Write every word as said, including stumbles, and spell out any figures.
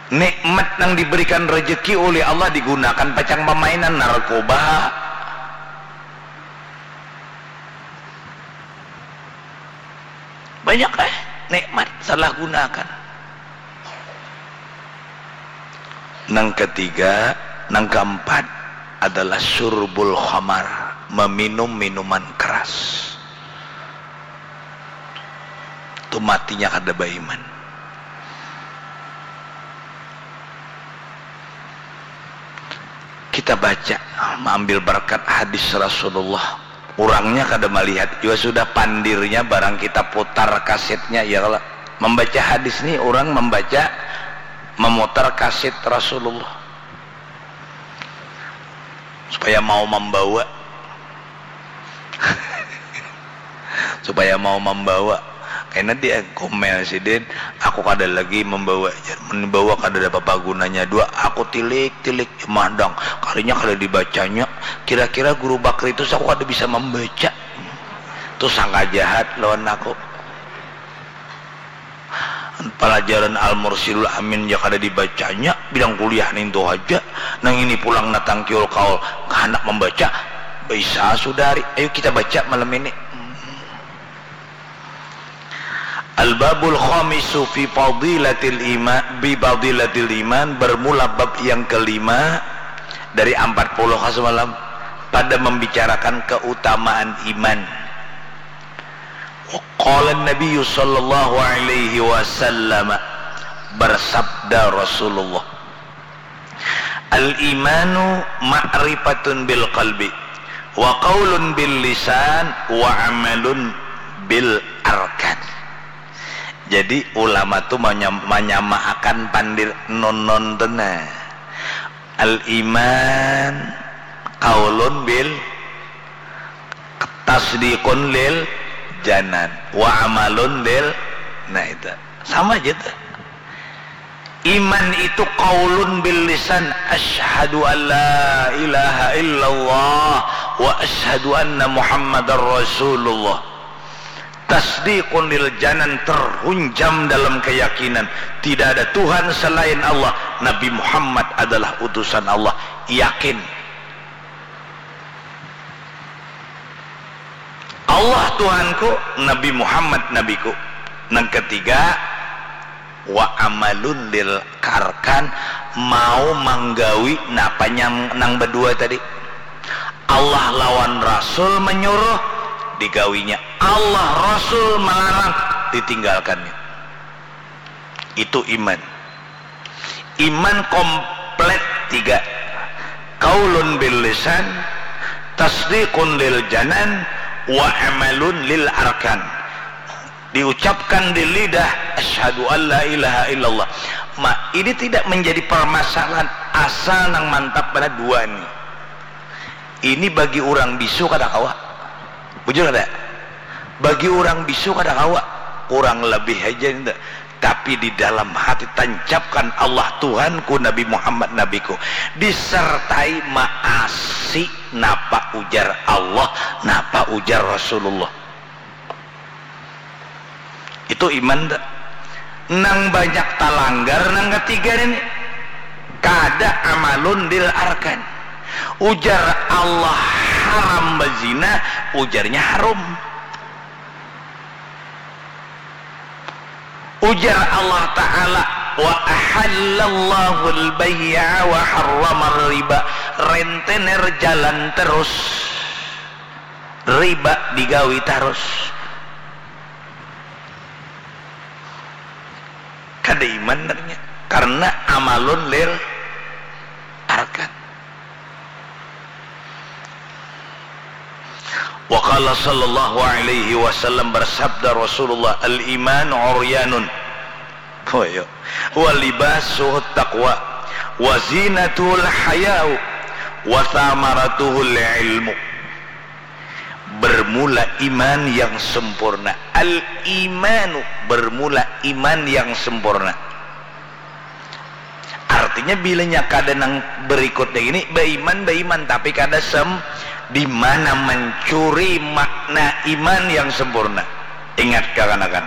Nikmat nang diberikan rezeki oleh Allah digunakan pacang pamainan, narkoba. Banyak eh nikmat salah gunakan. Nang ketiga, nang keempat adalah surbul khamar, meminum minuman keras. Tu matinya kada baiman. Kita baca, maambil barakat hadis Rasulullah. Urangnya kada malihat jua sudah pandirnya, barang kita putar kasetnya, ya kalo. Mambaca hadis ni urang mambaca, mamutar kaset Rasulullah. Supaya mau mambawa. Supaya mau mambawa. Kena dia komel sidin, "Aku kada lagi mambawa," jar. "Mun bawa kada ada apa-apa gunanya dua, aku tilik-tilik mandang. Kalinya kada dibacanya. Kira-kira guru Bakri tu aku kada bisa mambaca. Tu sangka jahat lawan aku." Palajaran Al-Mursyidul Amin ja kada dibacanya, bilang kuliah nintu haja. Nang ini pulang natangkiul kaul, handak mambaca. Bisa, Sudari. Ayu kita baca malam ini. Al-babul khamisu fi fadilatil iman, bi fadilatil iman, bermula bab yang kelima dari ampat puluh ka semalam, pada membicarakan keutamaan iman. Qala Nabiyyu sallallahu alaihi wasallam, bersabda Rasulullah, "Al-imanu ma'rifatun bil qalbi, wa qaulun bil lisan, wa amalun bil arkan." Jadi ulama tu manyam-, manyamaakan pandir nunun tu nah. Al-iman qaulun bil, tasdiqun lil janan, wa amalun lil, nah itu. Sama aja tuh. Iman itu qaulun bil lisan, asyhadu an la ilaha illallah wa asyhadu anna Muhammadar Rasulullah. Tasdiqun lil janan, terhunjam dalam keyakinan. Tidak ada Tuhan selain Allah. Nabi Muhammad adalah utusan Allah. Yakin. Allah Tuhanku, Nabi Muhammad Nabiku. Nang ketiga, wa amalun lil arkan, mau manggawi napa nyang nang badua tadi. Allah lawan Rasul manyuruh, digawinya. Allah Rasul malarang, ditinggalkannya. Itu iman. Iman komplit tiga. Qaulun bil lisan, tasdiqun lil janan, wa amalun lil arkan. Diucapkan di lidah, asyhadu an la ilaha illallah. Ma, ini tidak menjadi permasalahan asal nang mantap pada dua ni. Ini bagi urang bisu kada kawa. Bujur kada? Bagi urang bisu kada kawa. Kurang lebih haja nintu. Tapi di dalam hati tancapkan Allah Tuhanku, Nabi Muhammad Nabiku. Disertai maasi napa ujar Allah, napa ujar Rasulullah. Itu iman tu. Nang banyak talanggar nang katiga ini. Kada amalun lil arkan. Ujar Allah haram bazina, ujarnya harum. Ujar Allah Ta'ala, wa ahallallahu al-bay'a wa harramar riba. Rentenir jalan terus. Riba digawi tarus. Kada iman nanya. Karena amalun lil arkan. Wa qala sallallahu alaihi wasallam, bersabda Rasulullah, al-iman uryanun. Oh, iya. Wa libasuhu taqwa, wa zinatul hayau, wa thamaratuhul ilmu. Bermula iman yang sempurna. Al-imanu, bermula iman yang sempurna. Artinya, bilanya kada nang berikutnya ini, baiman, baiman, tapi kada sem-, di mana mencuri makna iman yang sempurna. Ingat, kakanakan,